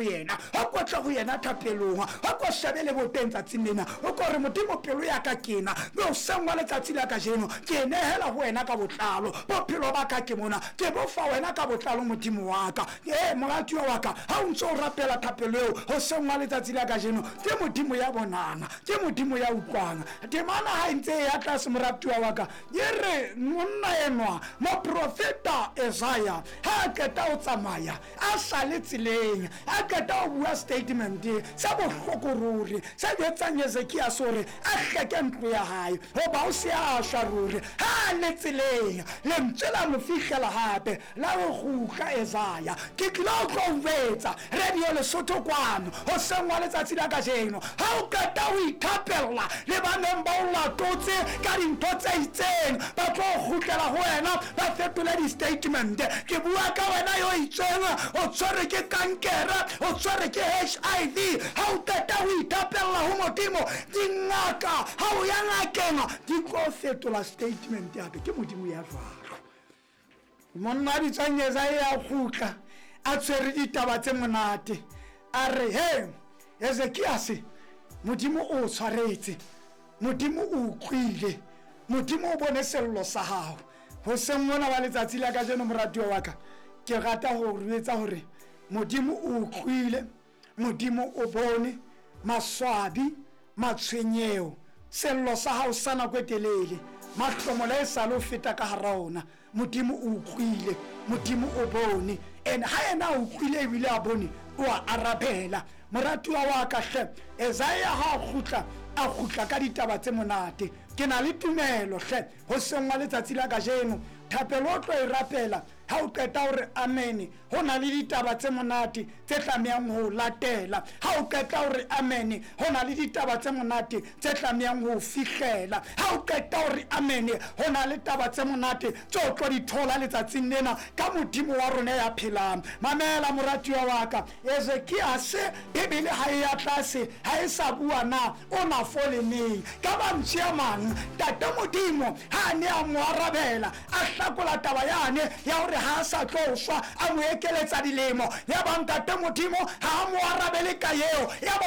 Yena, o ko tle ho yena thapelong, o ko shebe leboteng tsatsing lena, o ko re, Modimo, pelo ya ka ke ena, mme hoseng wa letsatsi la kajeno ke e nehela ho wena ka botlalo. Bophelo ba ka ke mona, ke bo fa wena ka botlalo, Modimo wa ka. Ee, moratuwa wa ka, ha o ntse o rapela thapelo eo hoseng wa letsatsi la kajeno, ke Modimo ya bonang, ke Modimo ya utlwang. Temana ha e ntse e ya tlase, moratuwa wa ka, e re monna enwa, moprofeta Esaia, ha a qeta ho tsamaya, a sa le tseleng, a qeta ho bua statement se bohloko ruri, se jwetsang Ezekiase hore a hleke ntlo ya hae, hoba o se a shwa ruri. Ha a le tseleng, lentswe la mo fihlela hape, la re, Kgutla, Esaia, ke tlile ho tlo o jwetsa. Radio Lesotho kwano hoseng wa letsatsi la kajeno, ha o qeta ho ithapella le ba neng ba o latotse ka dintho tse itseng, ba tlo kgutlela ho wena, ba fetole di-statement. Ke bua ka wena yo itseng o tshwerwe ke kankere, o tshwerwe ke HIV. Ha o qeta ho ithapella ho Modimo, dingaka, ha o ya ngakeng, di tlo fetola statement hape. Ke Modimo ya jwalo. Monna a bitswang Esaia a kgutla a tshwere ditaba tse monate, a re, He, Ezekiase, Modimo o o tshwaretse, Modimo o utlwile, Modimo o bone sello sa hao. Hoseng mona wa letsatsi la kajeno, moratuwa wa ka, ke rata ho o jwetsa hore Modimo o utlwile, Modimo o bone maswabi, matshwenyeho, sello sa hao sa nako e telele, mahlomola e sale o feta ka hara ona. Modimo o utlwile, Modimo o bone. And ha yena a utlwile ebile a bone, o a arabela. Moratuwa wa ka hle, Esaia ha a kgutla, a kgutla ka ditaba tse monate. Ke na le tumelo hle, hoseng wa letsatsi la kajeno, thapelo o tlo e rapela, Ha o qeta ho re amene, ho na le ditaba tse monate tse tlamehang ho o latela. Ha o qeta ho re amene, ho na le ditaba tse monate tse tlamehang ho o fihlela. Ha o qeta ho re amene, ho na le taba tse monate tse o tlo di thola letsatsing lena ka Modimo wa rona ya phelang. Mamela, moratuwa wa ka, Ezekiase, Bibele ha e ya tlase, ha e sa bua na o na fole neng. Ka mantswe a mang, Ntate Modimo ha a ne a mo arabela, a hlakola taba yane ya hore ha a sa tlo shwa, a mo ekeletsa dilemo. Yaba Ntate Modimo ha a mo arabele ka eo. Yaba.